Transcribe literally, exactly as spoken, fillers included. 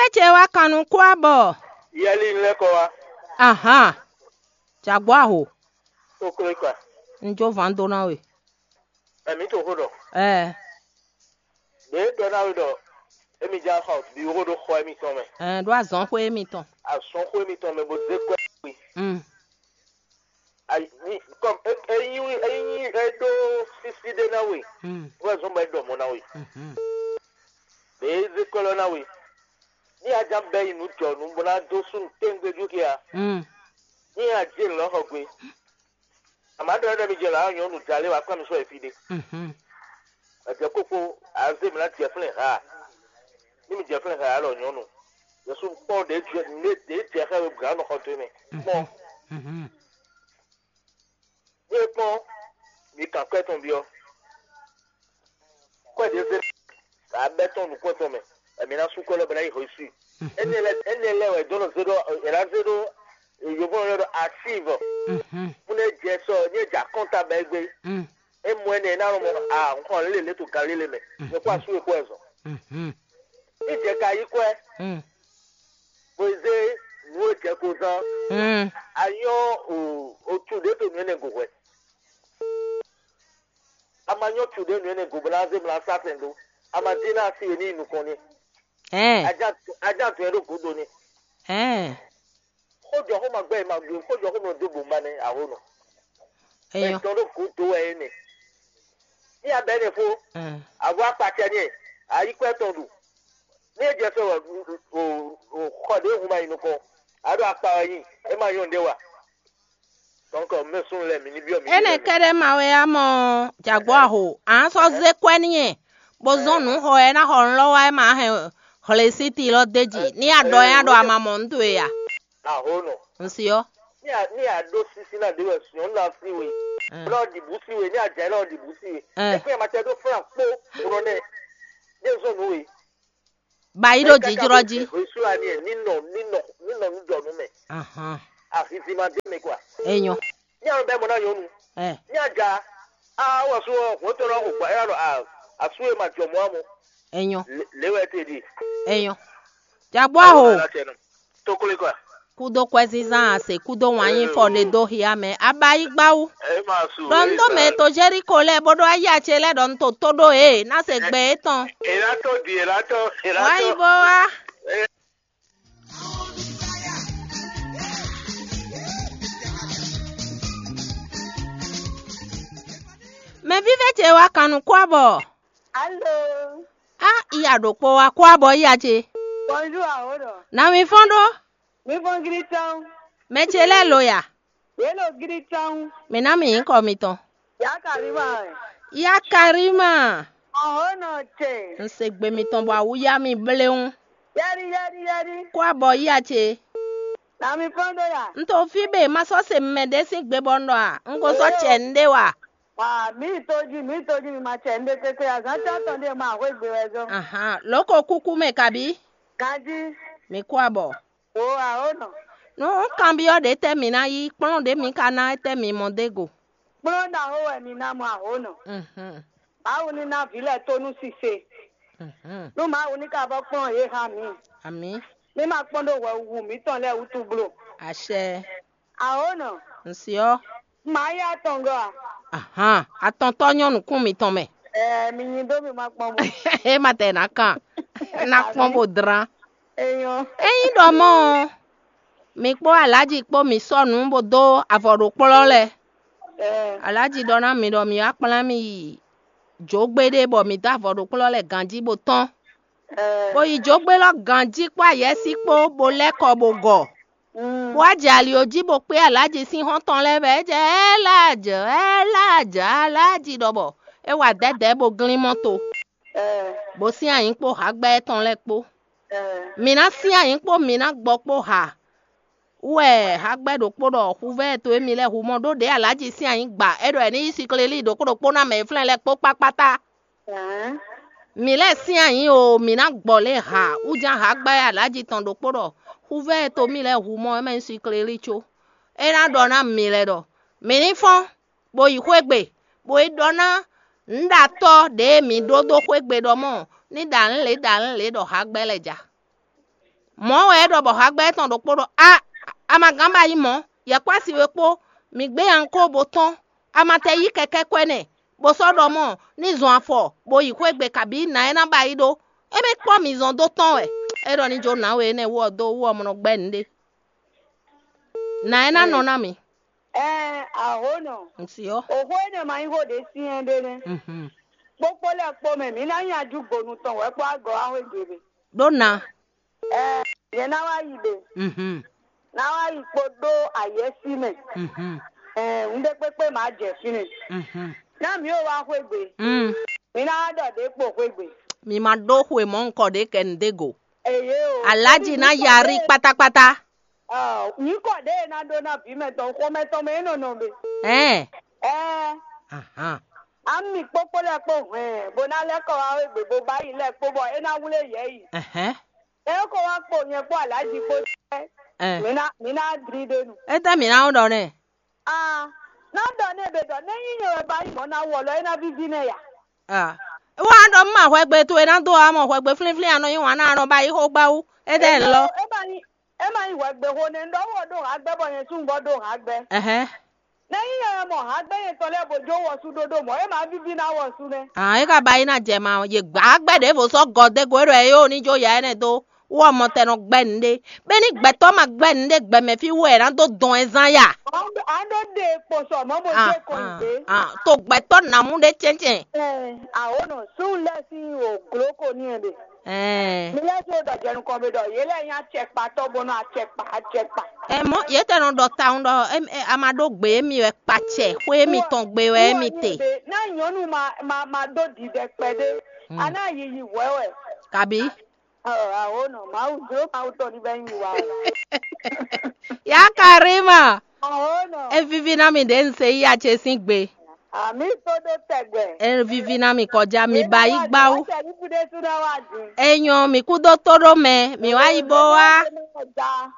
Ece wá kan nú kú abɔ. Yɛli lɛ́ kɔ wá. Ahan. Jagbo aho. Koklo kpa. Un jó van dó ná we. Ɛmí to xó ɖɔ. Ɛɛ. Ɖě ɖɔ ná we ɖɔ émi já xɔ bǐ xó ɖo xɔ émítɔn mɛ. Ɛɛ ɖó azɔn xwé émítɔn. Azɔn xwé émítɔn mɛ bó zé kɔ́ we. Mm. Ayi, ní, kɔm, é, é nyí, é nyí, é ɖó sísí ɖé ná we. Mm. Wɛ zɔn bɔ é ɖɔ mɔ ná we. Mhm. Ɖě é zé kɔ́ lɔ ná we. Ní a ján bɛ́ yi nǔ jɔ nǔ bó ná dó súnnu téŋgbé jú kí a. Mm. Ní a jɛ nǔ lɔ xɔ gbe. Àmọ́ ɖɔ ɖɔ mi jɛ lǎ nyɔ̌nu jalé wá kpá mi sɔ́ yi fí ɖé. Mhm. Èdè kókó azé mi ná jɛ flɛ́n ha. Ní mi jɛ flɛ́n ha alɔ nyɔ̌nu. Yɛsu kpɔ́n ɖě jɛ, ɖě jɛ xá we gǎn nɔ xɔ tó mɛ. Kpɔ́n. Mhm. Ní e kpɔ́n, mi kan kwɛ́ tɔn byɔ́. Kwɛ́ ɖě zé abɛ tɔn nukún tɔn mɛ, èmi ná sú kwɛ́ lɔ bɔ ná yi hwesú. Énɛ́ lɛ́ énɛ́ lɛ́ wɛ dó nɔ zé ɖó è nǎ zé ɖó yǒvó nɔ ɖɔ asív. Mhm. Mú nɛ jɛ sɔ ní e jɛ akɔ́nta bɛ gbé. Mm. É mɔ énɛ́ é ná nɔ mɔ a nxɔ lélẹ̀ lé to Galilée mɛ. Nyɛ kó asú e kó ɛ zɔn. Mhm. Ní jɛ ka yí kwɛ́. Mm. Bó zé nǔ e jɛ ko zán. Mm. A nyɔ́ o o tu ɖě to nǔ énɛ́ go hwɛ. A ma nyɔ́ tu ɖě nǔ énɛ́ go bó ná zé mla sá sɛn dó. A ma dín ná asi e ní yi nukɔn ní. Ɛn. Ajá tu ɛ ɖó gǔdo ní. Ɛn. Xójɔ xó ma gbɛ ma gbé xójɔ xó nɔ dó gbòǹba nɛ aho nɔ. Eyɔ. Ɛtɔn ɖó gǔdo wɛ é nɛ. Ní abɛ nɛ fó. Ɛn. Avɔ akpatsɛ ní ɛ. Ayi kɔ ɛtɔn ɖu. Ní e jɛ sɔ wɛ o o xɔ ɖě hun ma yi nukɔn. A ɖo akpa wɛ nyi. É ma nyɔ́ ɖé wa. Donc mɛ sún lɛ mi ní byɔ́ mi. Énɛ́ kɛ́ɖɛ́ ma wɛ á mɔ jǎgbó aho. À ń sɔ́ zé kwɛ́ n'i ɛ, bó zɔ́n nǔ xɔ ɛ ná xɔ nǔ lɔ wá ɛ ma hɛn hlesíti lɔ d'é jí. Ní a ɖɔ ɛ á ɖɔ a ma mɔ nǔ towe a? Aho nɔ. Un si ɔ́. Ní a ní a ɖó sísí ná ɖé wɛ sùn ɔ́ ná sí we. Lɔ ɖi bǔ sí we ní a jɛ lɔ ɖi bǔ sí we. Ɛ. Ɛ kún yɛ ma tɛ ɖó fúnra kpó. Rɔ nɛ. Ní e zɔ́n nǔ we. Ba yi ɖo jijlɔ jí. Hwesú ani ɛ ní nɔ ní nɔ ní nɔ nú jɔ nú mɛ. Ahan. Ahizi ma dé mɛ kua. Enyɔ. Ní alɔ bɛ mɔ ná nyɔnu. Ɛ. Ní aga. A wɔ sú ɔ hwɛ tɔ lɔ hwɛ ɛ lɔ a asu e ma jɔ mɔ amɔ. Enyɔ. Lé wɛ te di. Enyɔ. Jagbɔ aho. Tokole kua. Kúdó kwɛzínzán ase kúdó wǎn nyí fɔ ɖe dó hia mɛ abayígbáwú. Ɖɔ un ɖó mɛ to Jeriko lɛ́ɛ bó ɖó ayé acé lɛ́ɛ ɖɔ un to tó ɖó e ná se gbɛ étɔn. Èlá tó di èlá tó èlá tó. Wáyé bó wá. Mɛ vívɛ ce wá kan nú kwá bɔ. Alo. Á iya ɖokpó wá kwá bɔ iya ce. Bonjour awo ɖɔ. Nǎ mi fɔ́n ɖó. Mi fɔn giri tɔn. Mɛ ce lɛ́ɛ lo ya. Yě lo giri tɔn. Mǐ ná mi nyǐkɔ mitɔn. Yá Karima. Yá Karima. Ɔhɔn nɔ te. Un se gbe mitɔn bɔ awú yá mi bléwún. Yɛri yɛri yɛri. Kó abɔ yá ce. Nǎ mi fɔ́n ɖó ya. Un to fí bɛ ma sɔ́ se mɛ ɖé sín gbe bɔ un ɖɔ a? Un ko sɔ́ cɛ nɖé wa. Wa mǐ yi tó jí mǐ yi tó jí mi ma cɛ nɖé kéké azǎn tɔn tɔn ɖé ma hwé gbe wɛ zɔn. Ahan, lǒ ko kúkú mɛ kabí? Ganjí. Mi kú abɔ. Wo aho nɔ. Nú un kanbyɔ́ ɖě tɛ́ mǐ ná yí, kplɔ́n ɖě mǐ ka ná étɛ́ mǐ mɔ dó go? Kplɔ́n ɖaxó wɛ mi ná mɔ aho nɔ. Mhm. Mawu ní ná vǐ lɛ́ɛ tó nú sise. Mhm. Nú Mawu ní ka vɔ kplɔ́n yě há mǐ. Amǐ. Mí ma kpɔ́n ɖó hwɛhuhu mǐtɔn lɛ́ɛ wútu bló. Acɛ. Aho nɔ. Un si ɔ́. Mǎ yá tɔn gɔ́ a? Ahan, atɔntɔ́ nyɔ́ nukún mitɔn mɛ. Ɛɛ, mi nyi dó mi ma kpɔ́n bó. É ma tɛ ná kan. Ná kpɔ́n bó dlán. Enyɔ. Ényí ɖɔ mɔ́ ɔ́, mi kpó Alǎji kpó mi sɔ́ nǔ bó dó avɔ ɖo kplɔ́ lɛ́ɛ. Ɛɛ. Alǎji ɖɔ ná mi ɖɔ mi wá kplán mì yi jǒgbe ɖé bɔ mi dó avɔ ɖo kplɔ́ lɛ́ɛ ganjí bó tɔ́n. Ɛɛ. Bó yi jǒgbe lɔ ganjí kpó ayɛ́sí kpó bó lɛ́ kɔ bó gɔ. Mm. Bó wá jɛ ali jí bó kpé Alǎji sín xɔ́ntɔn lɛ́ɛ bɔ é jɛ Ɛlajɔ, Ɛlajɔ, Alǎji ɖɔ bɔ é wa dɛ̌dɛ̌ bó glín mɔ́ to. Ɛɛ. Bó sín anyǐ kpó hǎgbɛ́ tɔn lɛ́ɛ kpó. Ɛɛ. Mǐ ná sín anyǐ kpó mǐ ná gbɔ kpó ha. Wú wɛ hǎgbɛ́ ɖokpó ɖɔ huvɛ́ to émí lɛ́ɛ hu mɔ ɖó ɖě Alǎji sín anyǐ gba é ɖɔ è ní yí siklelí ɖokpó ɖokpó ná mɛ e flɛ́n lɛ́ɛ kpó kpákpátá. Mǐ lɛ́ɛ sín anyǐ o, mǐ ná gbɔ lě ha wúján hǎgbɛ́ Alǎji tɔn ɖokpó ɖɔ huvɛ́ e to mì lɛ́ɛ hu mɔ é mɛ nyí siklelí có. É ná ɖɔ ná mǐ lɛ́ɛ ɖɔ mǐ ní fɔ́n, bó yi xwé gbe, bó yi ɖɔ ná nǔɖatɔ́ ɖě mǐ ɖó dó xwé gbe ɖɔ mɔ ní ɖa nǔ lě ɖa nǔ lě ɖɔ hǎgbɛ́ lɛ́ɛ ja. Mɔ̌ wɛ é ɖɔ bɔ hagbɛ́ tɔn ɖokpó ɖɔ: "A, a ma gán ba nyí mɔ̌, yɛ̌kpási we kpó, mǐ gbé ankó bó tɔ́n, a ma tɛ yí kɛkɛ́ kɔ́ ɛnɛ, bó sɔ́ ɖɔ mɔ̌ ní zɔn afɔ bó yi xwé gbe kabí nǎ e ná ba yí ɖó. É mɛ kpɔ́ mǐ zɔn dó tɔ́n wɛ." É ɖɔ ní jó nǎwe énɛ́ wú ɔ́ dó wú ɔ́ mɔ nɔ gbɛ́ nǔɖé. Nǎ e ná nɔ ná mǐ. Ɛɛ, ahonɔ, Ŋsi ɔ́. Òxó énɛ́ ma nyí xó ɖě syɛ́n ɖé nɛ́. Mhm. Kpókpó lɛ́ɛ kpó mɛ, mǐ ná nyi ajúgbonu tɔn wɛ kpó agɔ̌ axwé gěgbe. Ɖó na. Ɛɛ, nyɛ ná wá yi ɖe. Mhm. Ná wá yi kpódó ayɛ́sí mɛ. Mhm. Ɛɛ, un ɖé kpékpé má jɛ fínɛ́. Mhm. Ná mǐ ó wá xwé gbe. Mm. Mǐ ná wá ɖɔ ɖě kpo xwé gbe. Mi ma ɖó xwe mɔ̌ ŋkɔ ɖě kɛ nǔ ɖé go. Eye o. Alájì ná yarí kpátákpátá. Ɔ, nyǐkɔ ɖě e ná ɖó ná vǐ mɛtɔn xomɛ tɔn mɛ é nɔ nɔ be. Ɛn. Ɛɛ. Ahan. Ami kpókpó lɛ́ɛ kpó hwɛn bó ná lɛ́ kɔ wá égbé bó bá yi lɛ́ɛ kpó bɔ é ná wlé yɛ yi. Ɛhɛn. Ɛ ko wá kpo nyɛ kpó alájí kpó jɛ. Ɛn. Mǐ ná mǐ ná dlí ɖé nu. Étɛ́ mǐ ná ɖɔ nɛ? Ah, ná ɖɔ nɛ be ɖɔ nɛ nyí nyɛ wɛ ba yi mɔ̌ ná wɔ lɔ é ná víví nɛ ya. Ah. Wá ɖɔ mú ma hwɛgbe towe ná dó amɔ hwɛgbe flínflín anɔ yí wǎn ná anɔ ba yi xó gbá wú. Étɛ́ lɔ. É ma nyí é ma nyí hwɛgbe xó nɛ ɖɔ wɔ ɖó hǎgbɛ bɔ nyɛ sún bɔ ɖó hǎgbɛ. Ɛhɛn. Nɛ nyí nyɛ wɛ mɔ hǎgbɛ nyɛtɔn lɛ́ɛ bó jó wɔsú ɖóɖó mɔ̌ é ma víví ná wɔsú nɛ́. Ah, é ka ba yi ná jɛ ma yě gbá gbɛ ɖěvo sɔ́ gɔ dé go é ɖɔ é yó ní jó ya énɛ́ dó wɔ mɔ tɛ nɔ gbɛ nǔɖé. Bɛ́ ní gbɛtɔ́ ma gbɛ nǔɖé gbɛ mɛ fí wɛ ná dó dɔn ɛ zán ya. A ɖó ɖe kposɔ mɔ mo Ah, jɛ kɔn ah, gbé. Ah, to gbɛtɔ́ nǎmú ɖé cɛ́ncɛn. Ɛɛ, awonɔ sun lɛ sín o gloko ní ɛ ɖe. Ɛɛ. Mi lɛ so dɔ jɛnu kɔn be dɔ yé lɛ nyí acɛkpatɔ bɔnɔ acɛkpa acɛkpa. Ɛ mɔ yě tɛ nɔ ɖɔ tawun ɖɔ ɛ, ɛ, a ma ɖó gbě émi wɛ kpacɛ xwé émi tɔn gbe wɛ émi te. Ná nyɔnu ma ma ma ɖó didɛ kpɛɖé. Hmm. A ná yiyi hwɛ wɛ. Kabi. Ɔ, awo nɔ Mawu dro Mawu tɔn ní bɛ nyi wa. Ya Karima. Awo nɔ. E vivi ná mi ɖě un se yí acɛ sín gbe. Ami tó ɖó tɛgbɛ. E vivi ná mi kɔjá mi ba yí gbáwú. Tɛ̀lí kúdé súná wá dùn. E nyɔ mi kú dó tó ɖó mɛ mi wá yi bó wá. Ja.